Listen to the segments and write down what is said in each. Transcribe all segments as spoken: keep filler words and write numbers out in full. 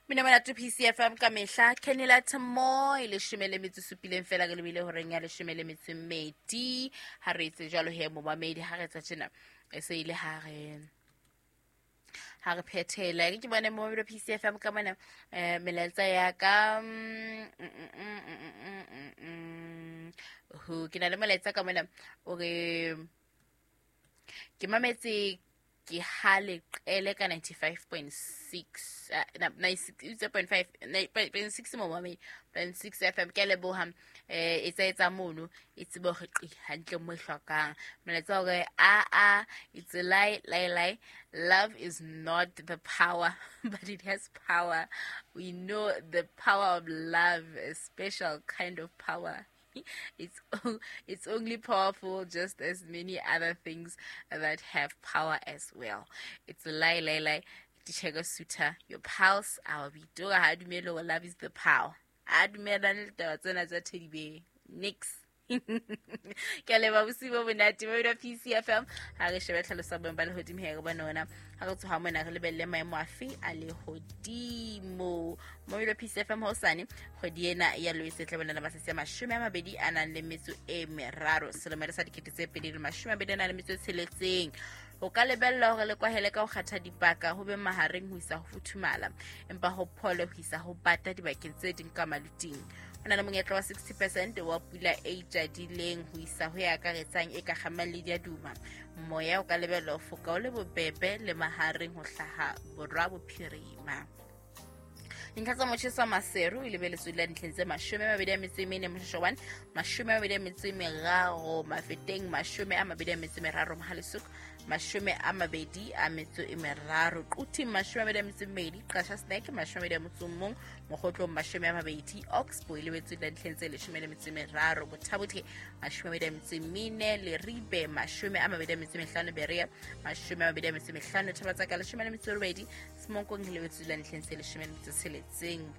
Mina monate P C F M ka mehla Kenela Tmo e leshome le metso supileng fela ke lebile horeng ya leshome le metso mmedi ha re etse jwalo he momamedi ha re tsa tjena e se ile ha re ha re phethela ke bone momamedi P C F M ka mona eh melaetsa ya ka ho ke na le molaetsa ka mona o re ke mametse ke hale qele ka ninety-five point six ninety-six point five point six mo mame point six F M ke leboha eh etsa etsa mono e tsebe hore qi hantle mo hlokang molaetsa hore a a it's a lie lie lie love is not the power but it has power. We know the power of love, a special kind of power. It's it's only powerful just as many other things that have power as well. It's a lie, lie, lie. Tichego suta your pulse. Our bidoga ha dumelo love is the power. A dumela le taba tsena tsa Teddy Bear. Nix. Ke a leboha bosiu bo monate ba P C F M ha re shebe tlhaloso ya boemo ba lehodimo he re bone ona ha re tsoha mona re lebelle maemo afe a lehodimo mo P C F M hosane kgwedi ena ya Loetse tla bonela matsatsi a mashome a mabedi a nang le metso e meraro selemo sa dikete tse pedi le mashome a mabedi a nang le metso e tsheletseng. O ka lebella hore le kwahele ka ho kgatha dipaka ho be mahareng ho isa ho futhumala empa ho phole ho isa ho bata dibakeng tse ding ka maluting. Ho na le monyetla wa sixty percent wa pula e jadileng ho isa ho ya akaretsang e ka kgamang le diaduma. Moya o ka lebella ho foka o le bobebe le mahareng ho hlaha borwa bophirima. Dintlha tsa motjheso wa Maseru e lebeletswe la dintlheng tse mashome a mabedi a metso e mene Moshoeshoe one, mashome a mabedi a metso e meraro Mafeteng, mashome a mabedi a metso e meraro Mohalesook, mashome a mabedi a metso e meraro Quthing, mashome a mabedi a metso e mmedi Qasha Snack, mashome a mabedi a motso o mong Mokgotlong, mashome a mabedi Oxbow e lebeletswe la dintlheng tse leshome le metso e meraro Bothabothe, mashome a mabedi a metso e mene Leribe, mashome a mabedi a metso e mehlano Berea, mashome a mabedi a metso e mehlano Thabatsaka, leshome le metso e robedi Semonkong e lebeletswe la dintlheng tse leshome le metso e tsheletseng.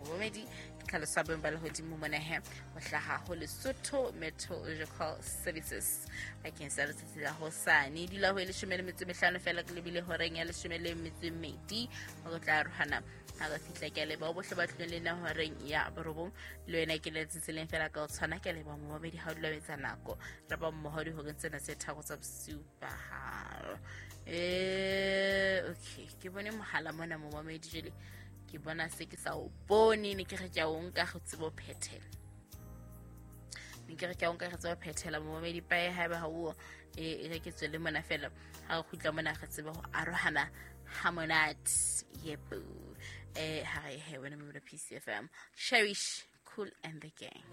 Bomedi ke tlhaloso ya boemo ba lehodimo mona he ho hlaha ho Lesotho Meteorological Services bakeng sa letsatsi la hosane. Dula ho e leshome le metso e mehlano fela ke lebile horeng ya leshome le metso e mmedi ho tla arohana ha re fihla. Ke a leboha bohle ba tlileng le nna horeng ya borobong le wena ke letsatsi leng fela ka o tshwana. Ke a leboha momamedi ha o dula o etsa nako re ba mmoho dihoreng tsena tse tharo tsa bosiu ba hao. Eh okay ke bone mohala mona momamedi jwale ke bona se ke sa o bone ne ke re ke a o nka go tsebo phethela ne ke re ke a o nka go tsebo phethela momamedi pae haeba ha o e re ke tswele mona fela ha re kgutla mona re tsebe ho arohana ha monate yebo eh ha re he wena mo P C F M Cherish Cool and the Gang.